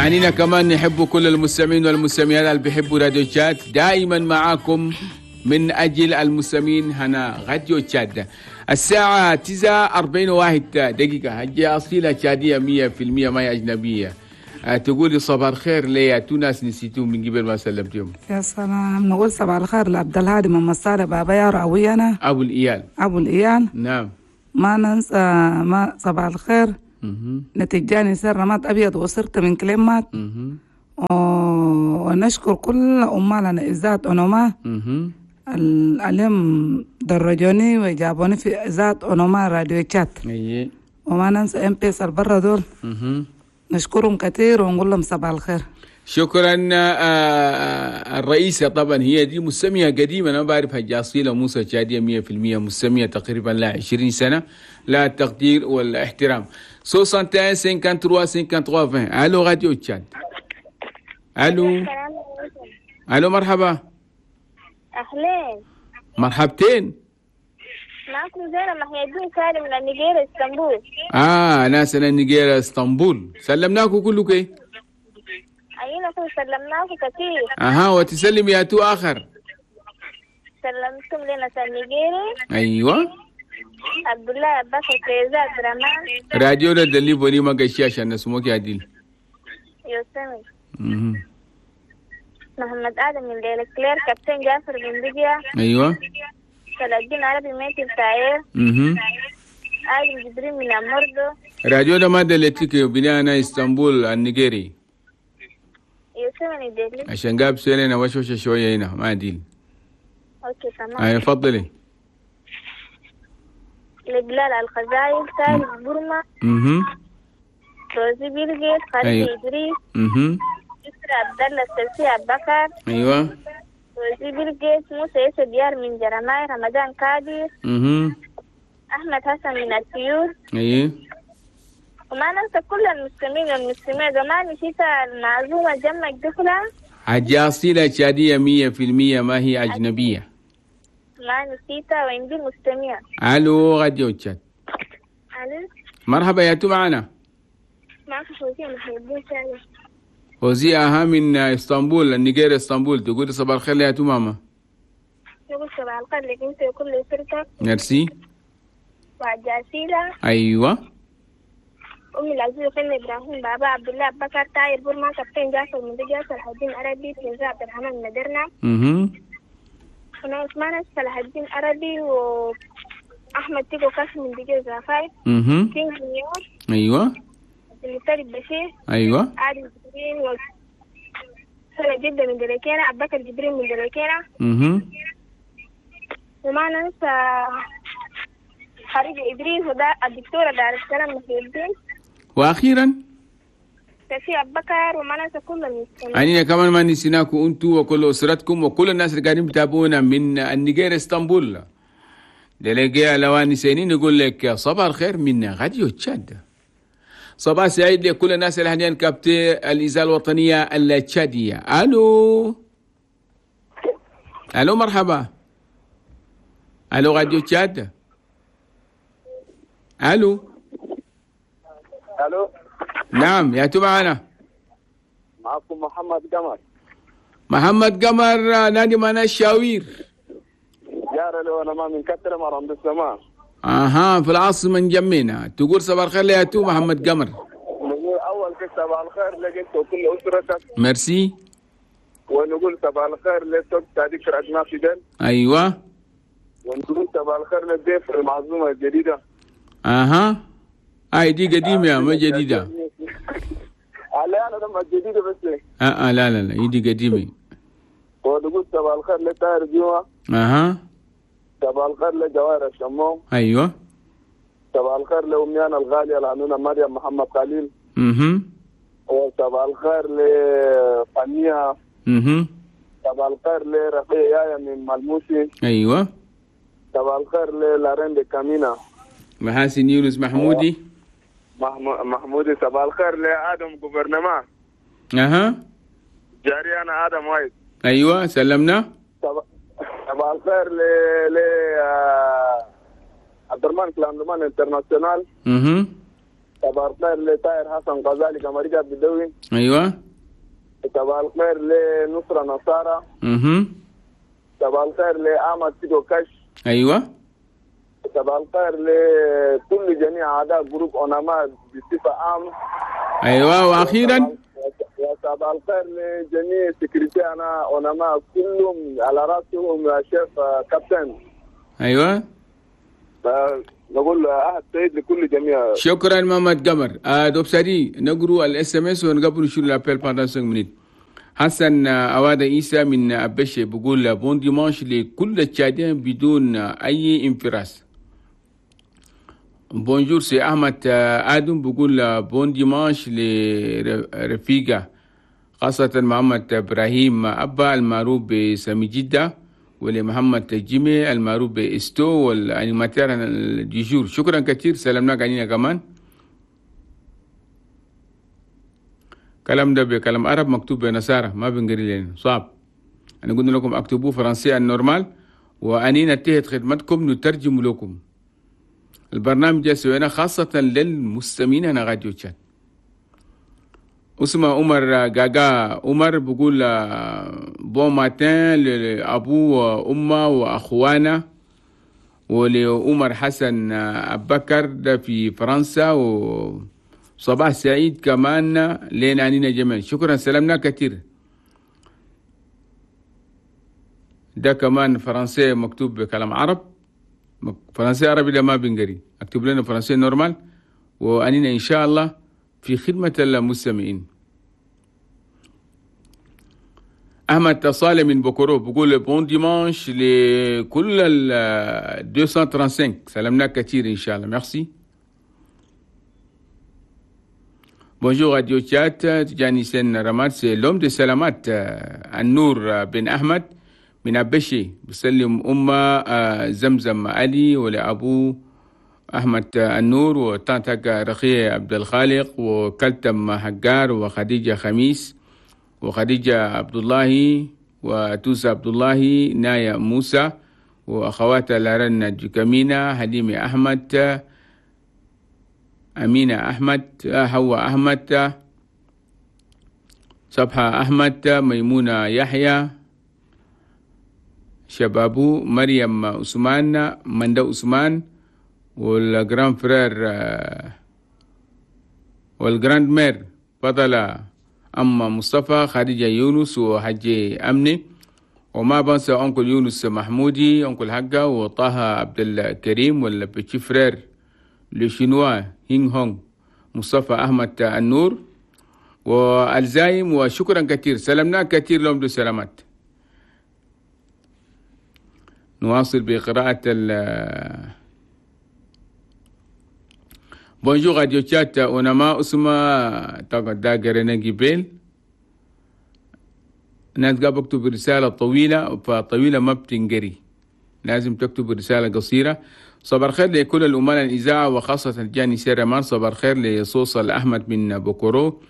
عنينا كمان نحب كل المستمعين والمستمعات اللي بيحبوا راديو تشاد. دائما معاكم من أجل المستمعين هنا راديو تشاد. الساعة 9:41 دقيقة. هجي أصيلة تشادية 100% ما هي أجنبية. تقولي صباح الخير ليا تو ناس نسيتوهم من قبل ما سلمتهم. يا سلام، نقول صباح الخير لعبد الهادي من مصالح بابا يا راوينا أبو الإيال. أبو الإيال. نعم. ما ننسى ما صباح الخير نتجاني سر رمات أبيض وصرت من كلمات. ونشكر كل أمالنا إذاعة أونوما اليوم درجوني وجابوني في إذاعة أونوما راديو تشات. وما ننسى ام بي اس البرة دول. نشكرهم كثير ونقول لهم صباح الخير. شكرا. الرئيسة طبعا هي دي مستمية قديمة، أنا ما بعرف حاجة أصيلة موسى تشادية 100% مستمية تقريبا لا 20 سنة، لا التقدير والاحترام. 61 53 53 20. الو راديو تشاد. الو الو، مرحبا. اهلين. مرحبتين. معكم زينب محي الدين سالم من النيجيريا اسطنبول. ناس من النيجيريا اسطنبول، سلمناكم كلكم. ايوه كل سلمناكم كثير. وتسلم يا تو اخر. سلمتم لنا النيجيري. ايوه. عبد الله عباس فيزا عبد الرحمن. راديو ده اللي ما قشي عشان نسموك يا ديل. يسمي. محمد ادم من ليلة كلير، كابتن جعفر بن بيجيا. ايوه. صلاح الدين عربي ميت التاير. آدم جبريل من أمردو. راديو ده ما دلتك بنانا اسطنبول النيجيري. يسمني دلي. عشان جاب سيلنا وشوشة شوية هنا ما ديل. okay تمام. ايوه تفضلي. لبلال الخزايل، سالم برما. روزي بيلجيت، خالد إدريس. يسرى عبد الله السلسي أبو بكر. ايوه. روزي بيلجيت، موسى يوسف ديار من جرماي، رمضان كادر. أحمد حسن من الطيور. ايوه. وما ننسى كل المسلمين والمسلمات. زمان نسيت المعزومة جمع الدخلة. حاجة أصيلة تشادية 100% ما هي أجنبية. ما نسيتها وعندي مستمع. ألو راديو تشاد. ألو. مرحبا يا تو معنا. معك فوزية محي الدين سالم. فوزية من اسطنبول النيجيريا اسطنبول. تقول صباح الخير يا تو ماما. نقول صباح الخير لك انت وكل اسرتك. ميرسي. وعجاسيلة. ايوه. امي العزيزة فن ابراهيم بابا عبد الله بكر تاير بورما كابتن جعفر من جعفر صلاح الدين عربي فيزا عبد الرحمن مدرنا. وناس صلاح الدين عربي واحمد تيكو كاس من دجاج زافاي. كينج نيور. ايوه. المفتري بشير. ايوه. عادل جبرين و سنة جدة من دلوكينا، أبو بكر جبرين من دلوكينا. وما ننسى خريج إدريس وده الدكتورة دار السلام محي الدين. وأخيرا تفي أبو بكر. وما ننسى كل المستمعين. أننا كمان ما نسيناكم أنتوا وكل أسرتكم وكل الناس اللي قاعدين بتابعونا من النيجير اسطنبول. دلقي لواني سنين نقول لك صباح الخير من راديو تشاد. صباح سعيد لكل الناس اللي هنيان كابتن الإذاعة الوطنية التشادية. ألو ألو مرحبا. ألو راديو تشاد. ألو ألو. نعم يا تو معنا. معكم محمد قمر. محمد قمر نادي معنا الشاوير. يا لو أنا ما من كتر مرام بالسماء. في العاصمة نجمينا. تقول صباح الخير يا تو محمد قمر. نقول أول شيء صباح الخير لك أنت وكل أسرتك. ميرسي. ونقول صباح الخير للتوك تاديك رأسنا في دل. أيوة. ونقول صباح الخير للضيف المعزومة الجديدة. هاي دي قديمة ما جديدة. لا أنا لما جديدة بس. لا لا لا دي قديمة. ونقول صباح الخير لطاهر جوه. صباح الخير لجوائر الشموم. ايوه. صباح الخير لأمي أنا الغالية العنونة مريم محمد خليل. وصباح الخير لفنية. صباح الخير لرقية يايا من ملموسي. ايوه. صباح الخير للارين دي كامينا. محاسن يونس محمودي. محمودي. صباح الخير لآدم جوفرنما. جاري أنا آدم وايد. ايوه سلمنا. صباح الخير ل عبد الرحمن كلاندمان international. صباح الخير لطاهر حسن غزالي كمريكا بدوي. ايوه. صباح الخير لنصرة نصارى. صباح الخير لأحمد سيدو كاش. ايوه. صباح الخير لكل جميع اعضاء groupe اوناما بصفة عامة. ايوه. واخيرا وصباح الخير لجميع sécurité انا اوناما كلهم على راسهم شيف كابتن. ايوه. نقول عهد سعيد لكل جميع. شكرا محمد قمر. دوبسادي نقرو ال SMS ونقبل شو l'appel pendant 5 minutes. حسن أواد عيسى من أبشي بقول bon dimanche لكل التشادين بدون أي انفراس. bonjour سي أحمد آدم بقول bon dimanche لرفيقة خاصة محمد إبراهيم أبا المعروف بسامي جدة، ولمحمد جيمي المعروف بإستو وال animateur du jour. شكرا كثير، سلامنا علينا كمان. كلام ده بكلام عرب مكتوب بنصارى ما بنقري لنا صعب. أنا قلنا لكم اكتبوه فرنسي ال normal، وأنينا انتهت خدمتكم نترجم لكم. البرنامج ده سوينا خاصة للمستمعين أنا راديو تشاد. اسمه عمر غاغا عمر بقول bon matin لأبو وأمه وأخوانا، ولعمر حسن أبكر ده في فرنسا، وصباح سعيد كمان لنا عنينا جميعا. شكرا، سلامنا كثير. ده كمان فرنسي مكتوب بكلام عرب، فرنسي عربي ده ما بنقري، اكتب لنا فرنسي normal، وأنينا إن شاء الله في خدمة المستمعين. أحمد صالح من بوكورو بقول bon dimanche لكل ال 235. سلامنا كثير إن شاء الله. merci. Bonjour Radio Tchad, Tijani Sen Ramat, c'est l'homme de Salamat, النور بن أحمد من أبشي، بسلم أمة زمزم علي ولأبو أحمد النور وطنطق رخية عبد الخالق وكلتم حجار وخديجة خميس وخديجة عبد الله وتوسى عبد الله نايا موسى وأخواتها لارن جكامينة حليمة أحمد أمينة أحمد حواء أحمد صبحة أحمد ميمونة يحيى شبابو مريم عثمان مندو عثمان وال grand frère وال grand-mère بطلة أما مصطفى خديجة يونس وحجي أمني، وما بنسى uncle يونس محمودي uncle حقا وطه عبد الكريم وال petit frère le chinois هينغ هونغ مصطفى أحمد النور والزايم. وشكرا كثير، سلامنا كثير لهم دو سلامات. نواصل بقراءة Bonjour Radio Tchad, ونما اسمه دا جبيل. ناس قاعد بكتب رسالة طويلة، فطويلة ما بتنقري، لازم تكتب رسالة قصيرة. صباح الخير لكل الأمناء الإذاعة وخاصة جاني سيرمان. صباح الخير لصوصل أحمد من بوكورو،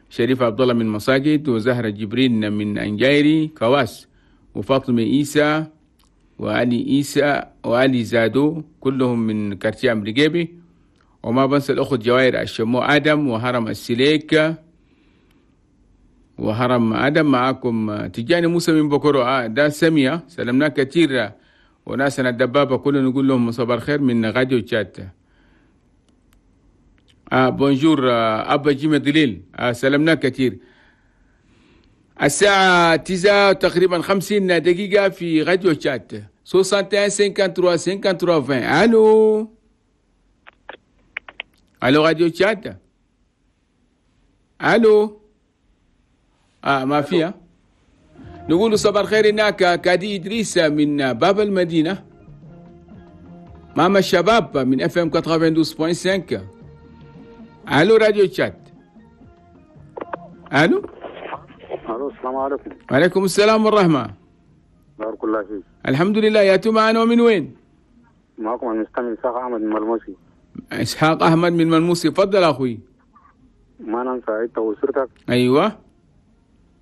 شريف عبد الله من مساجد، وزهرة جبرين من أنجايري كواس، وفاطمة إيسى وعلي إيسى وعلي زادو كلهم من quartier أمريكيبي. وما بنسى الأخت جواهر الشمو آدم وهرم السليك وهرم آدم. معاكم تجاني موسى من بكرو ده سمية، سلمنا كثير وناسنا الدبابة كلنا نقول لهم صباح الخير من راديو تشاد. Bonjour أبا جيمي دليل، سلمنا كثير. الساعة 9 تقريبا 50 دقيقة في راديو تشاد. 61 53 53 20. ألو الو راديو تشاد. الو ما فيها. نقول صباح الخير هناك كادي ادريس من باب المدينه، ماما الشباب من FM 92.5. الو راديو تشاد. الو الو السلام عليكم. وعليكم السلام والرحمه. بارك الله فيك. الحمد لله. يا تو معنا ومن وين؟ معكم المستمع اسحاق احمد من ملموسي. اسحاق احمد من ملموسي، تفضل اخوي. ما ننسى انت واسرتك. ايوه.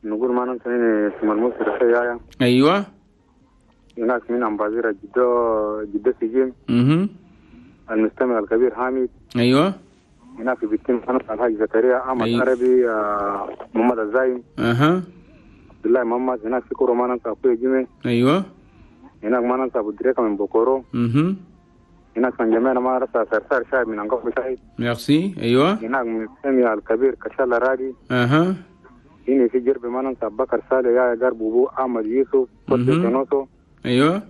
نقول ما ننسى هنا في ملموسي رخيا. ايوه. هناك من امبازيرة جدو جدو سجين. المستمع الكبير حامد. ايوه. هناك في بيتين الحاج زكريا احمد عربي محمد الزايم. اها. عبد الله محمد. هناك في كورو ما ننسى اخوي جيمي. ايوه. هناك ما ننسى ابو دريكه من بوكورو. هناك من جميعنا ما ننسى سرسار شاي من انقف شاي. ميرسي. ايوه. هناك من سميع الكبير كشال راجي. اها. هنا في جرب ما ننسى ابو بكر صالح يا قرب ابو احمد يوسف كنوسو. ايوه.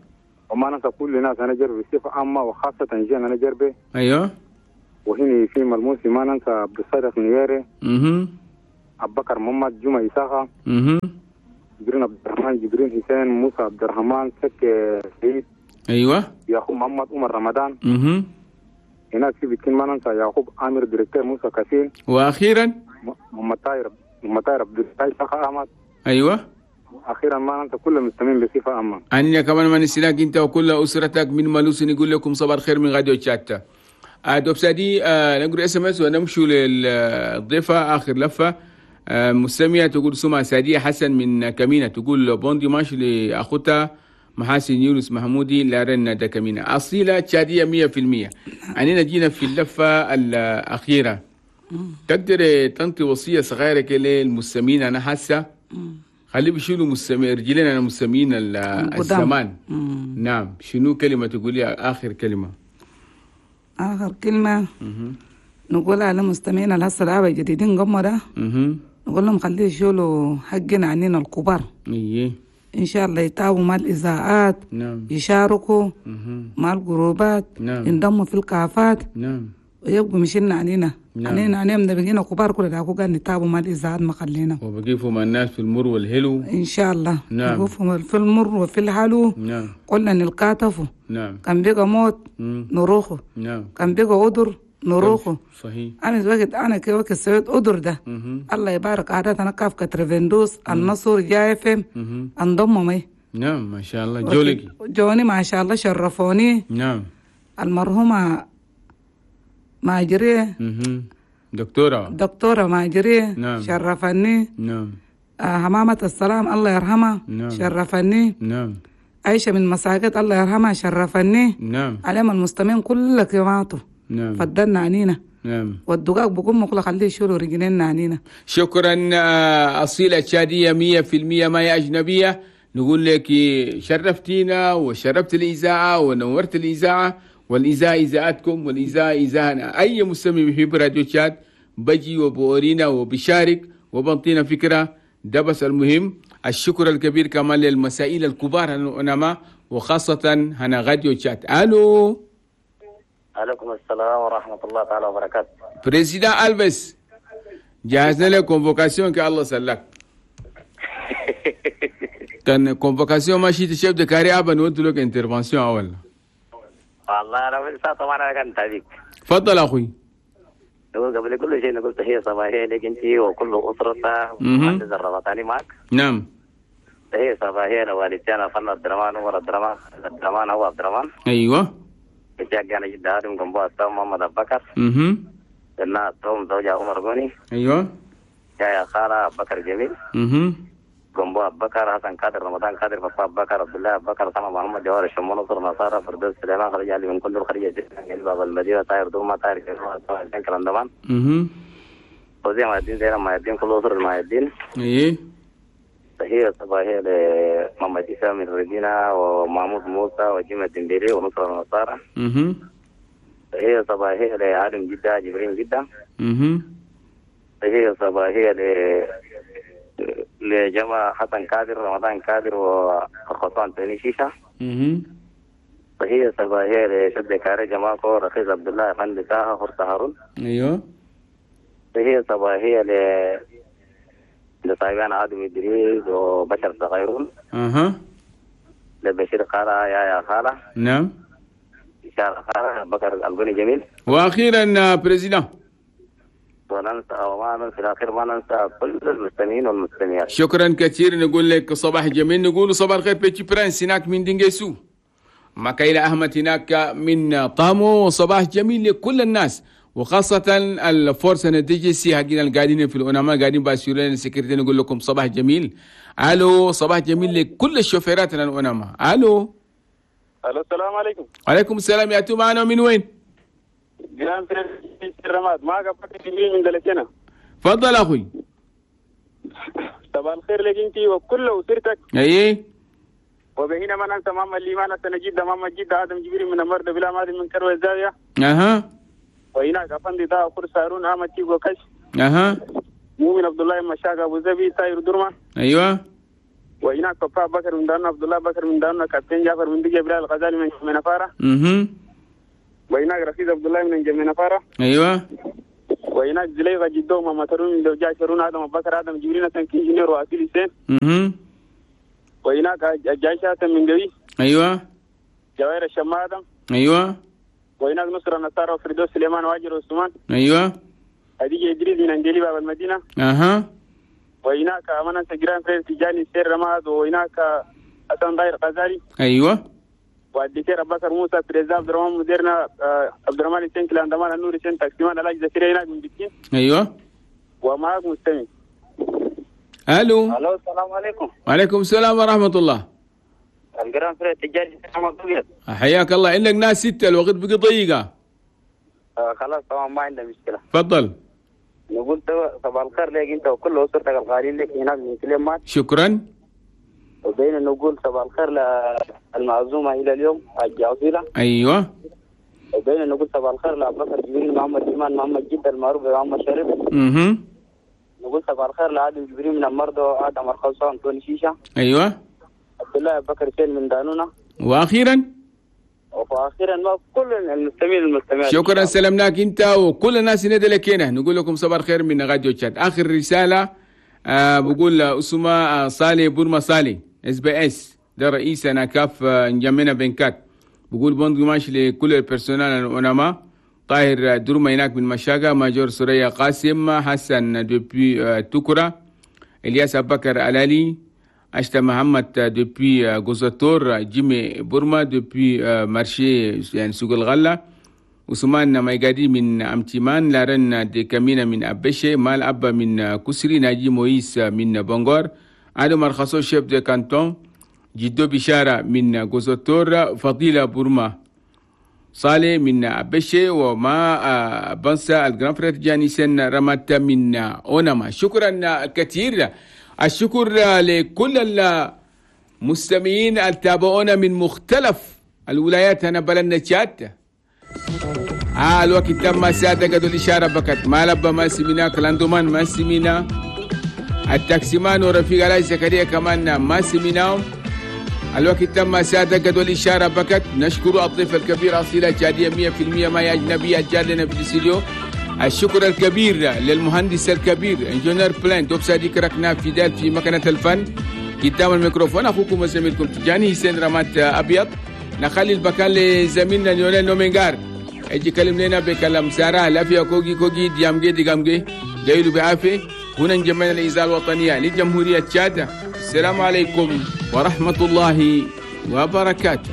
وما ننسى كل الناس انا جرب بصفه عامه وخاصه جينا انا جربه. ايوه. وهنا في ملموسي ما ننسى عبد الصادق نياري. ابو بكر محمد جمعه إساخة. جبرين عبد الرحمن جبرين حسين موسى عبد الرحمن سك سعيد. ايوه. يعقوب محمد عمر رمضان. هناك في بيتين ما ننسى يعقوب عامر directeur موسى كاسين. واخيرا محمد طاهر عبد الله احمد. ايوه. اخيرا ما ننسى كل المستمعين بصفه عامه. انا كمان ما نسيناك انت وكل اسرتك من مالوس نقول لكم صباح الخير من راديو تشات. دوبسادي نقرا SMS ونمشوا للضيفه اخر لفه. مستمعة تقول سمعة سعدية حسن من كمينة تقول bon dimanche لأخوتها محاسن يونس محمودي لارن دا كمينة أصيلة تشادية 100%. أننا جينا في اللفة الأخيرة. تقدر تنطي وصية صغيرة كده للمستمعين؟ أنا حاسة خلي بيشيلوا مستمعين رجلنا أنا مستمعين الزمان. نعم، شنو كلمة تقولي آخر كلمة؟ آخر كلمة نقولها للمستمعين الهسه العابة الجديدين قمرة. نقول لهم خليه يشيلوا حقنا عنينا الكبار. إيه. إن شاء الله يتابعوا مع الإذاعات. نعم. يشاركوا مع الجروبات. نعم. ينضموا في الكافات. نعم. ويبقوا مشينا عنينا. نعم. عنينا عنينا بقينا كبار كل ده قاعد نتابعوا مع الإذاعات ما خلينا. وبقيفوا مع الناس في المر والحلو. إن شاء الله. نعم. يقفوا في المر وفي الحلو. نعم. قلنا نلقاتفوا. نعم. كان بقى موت. نروحه. نعم. كان بقى قدر نروحه. صحيح. أنا وقت أنا كي وقت سويت قدر ده. الله يبارك عادات أنا كاف كترفندوس النصر جاي فيم انضم مي. نعم ما شاء الله. جولك جوني ما شاء الله شرفوني. نعم. المرحومة ماجري. دكتورة ماجري. نعم. شرفني. نعم. حمامة السلام الله يرحمها. نعم. شرفني. نعم. عايشة من مساجد الله يرحمها شرفني. نعم. عليهم المستمعين كلك يماتوا. نعم. فضلنا عنينا. نعم. والدقاق بقوم كله خليه يشيلوا رجلنا عنينا. شكرا أصيلة تشادية 100% ما هي أجنبية. نقول لك شرفتينا وشرفت الإذاعة ونورت الإذاعة، والإذاعة إذاعتكم والإذاعة إذاعنا. أي مستمع بيحب راديو تشاد بجي وبورينا وبشارك وبنطينا فكرة ده بس المهم. الشكر الكبير كمان للمسائل الكبار هنا وخاصة هنا راديو تشاد. ألو. عليكم السلام ورحمة الله تعالى وبركاته. président ألفيس جهزنا لك convocation كي الله سلك. كان convocation ماشي chef de carré أبا نودي لك intervention أول. والله أنا من ساعة طبعا أنا كنت هذيك. تفضل أخوي. نقول قبل كل شيء نقول تحية صباحية لك أنت وكل أسرتك ومهندس الرباطاني معك. نعم. تحية صباحية لوالدتي أنا فن عبد الرحمن عمر عبد الرحمن عبد الرحمن هو عبد الرحمن. أيوه. جاك جدا آدم جنبه التوم محمد أبو بكر. لنا التوم زوجها عمر غني. أيوه. يا خالة أبو بكر جميل. جنبه أبو بكر حسن قادر رمضان قادر بابا أبو بكر عبد الله أبو بكر سما محمد جوار الشمون نصر نصارى فردوس سليمان خرج علي من كل الخريجة باب المدينة طاير دوما طاير كلام كلام دمان. وزي ما الدين زي ما الدين كل أسر ما الدين. إيه. تحية صباحية لمحمد إسلام من الرجينة ومحمود موسى وجيمة الدنديري ونصر النصارى. تحية صباحية لعالم جدة جبرين جدة. تحية صباحية لجماعة حسن كادر رمضان كادر وخطوان تاني شيشة. تحية صباحية لشد كاري جماعة رخيص عبد الله أفندي طه خرطة هارون. أيوه. تحية صباحية لطيبان عادم إدريس وبشر صغيرون. لبشير خالة يا خالة. نعم. إشارة خالة بكر البني جميل. وأخيرا président. وننسى وما في الأخير ما ننسى كل المستمعين والمستمعات. شكرا كثير. نقول لك صباح جميل. نقول صباح الخير petit prince هناك من دينجيسو. مكايلة أحمد هناك من طامو. صباح جميل لكل الناس وخاصة ال force DGC حقنا القاعدين في الأوناما قاعدين باسيولين ال sécurité. نقول لكم صباح جميل. الو صباح جميل لكل الشوفيرات الأوناما. الو. الو السلام عليكم. وعليكم السلام. يا تو معنا من وين؟ grand frère رماد معك بكر جبريل من دلتنا. تفضل اخوي. صباح الخير لك انت وكل اسرتك. اي وبهنا ما ننسى ماما الليمانة سنجد ماما جدة آدم جبريل من المرد بلا مادي من كروي الزاوية. اها. وهناك افندي دا فرصة هارون احمد تيجو كش. اها. مؤمن عبد الله مشاق ابو زبي ساير درما. ايوه. وهناك بابا بكر من دارنا عبد الله بكر من دارنا كابتن جعفر من دجي بلال الغزالي من نفارة. وهناك رفيق عبد الله من جميع نفارة. ايوه. وهناك زليغة جدو ماما ترون من دوجا شرون آدم بكر آدم جبريل كينجينير وأسيل حسين. وهناك جايشة من قوي. ايوه. جوائر الشما آدم. ايوه. وهناك نصر النصارى وفردوس سليمان واجر عثمان. ايوه. هديجة إدريس من أنجلي باب المدينة. اها. وهناك أمانة جيران فريد تجاني سير رماد. وهناك حسن داير غزالي. ايوه. والدكتور بكر موسى بريزا عبد الرحمن مديرنا عبد الرحمن حسين كلاندمان النور حسين تاكسيمان علاج زكريا هناك من بكين. ايوه. ومعك مستمع. الو. الو السلام عليكم. وعليكم السلام ورحمة الله. ال grand frère تجاني محمد ابيض. حياك الله. عندك ناس ستة الوقت بقي ضيقه. خلاص تمام ما عندنا مشكلة. تفضل. نقول صباح الخير لك انت وكل اسرتك الغالين لك هناك من كلمات. شكرا. وبين نقول صباح الخير للمعزومه الى اليوم حاج عصيله. ايوه. وبين نقول صباح الخير لابو بكر جبريل محمد ايمان محمد جدا المعروف بمحمد شريف. نقول صباح الخير لادم جبريل من المرضى ادم الخلصان انطوني شيشة. ايوه. عبد الله بكر حسين من دانونا. واخيرا ما كل المستمعين المستمعين. شكرا سلمناك انت وكل الناس اللي لك هنا. نقول لكم صباح الخير من راديو تشاد. اخر رسالة بقول اسمه صالح بورما صالح SBS ده رئيس انا كاف نجمنا بنكات. بقول bon dimanche لكل ال personnel العلماء. طاهر درما هناك من مشاقة، major سوريا قاسم حسن depuis تكرة، الياس بكر الالي، أشتا محمد depuis غوزاتور، جيمي بورما depuis marché يعني سوق الغلة، عثمان مايقادي من أمتيمان، لارن دي كامينا من أبشي، مال أبا من كسري، ناجي مويس من بونغور، آدم مرخصو chef de canton، جدو بشارة من غوزاتور، فضيلة بورما صالح من أبشي، وما بنسى ال grand frère جانيسن رمات من أونما. شكرا كثير. الشكر لكل المستمعين التابعونا من مختلف الولايات هنا بلدنا تشاد. الوقت تم ساعة قد الإشارة بكت ما لبى ما سمينا كلاندومان ما سمينا التاكسيمان ورفيق علاء زكريا كمان ما سميناهم. الوقت تم ساعة قد الإشارة بكت. نشكر الضيف الكبير أصيلة تشادية 100% ما أجنبية جاد لنا في الاستديو. الشكر الكبير للمهندس الكبير ingénieur بلان دوب صديق ركنا في دال في مكنة الفن قدام الميكروفون. اخوكم وزميلكم تجاني حسين رمات ابيض. نخلي البكان لزميلنا نيولين نومينغار يجي يكلم لنا بكلام ساره لا فيها كوجي كوجي ديامجي ديامجي جايلو بعافية. هنا نجمعنا الاذاعة الوطنية لجمهوريه تشاد. السلام عليكم ورحمة الله وبركاته.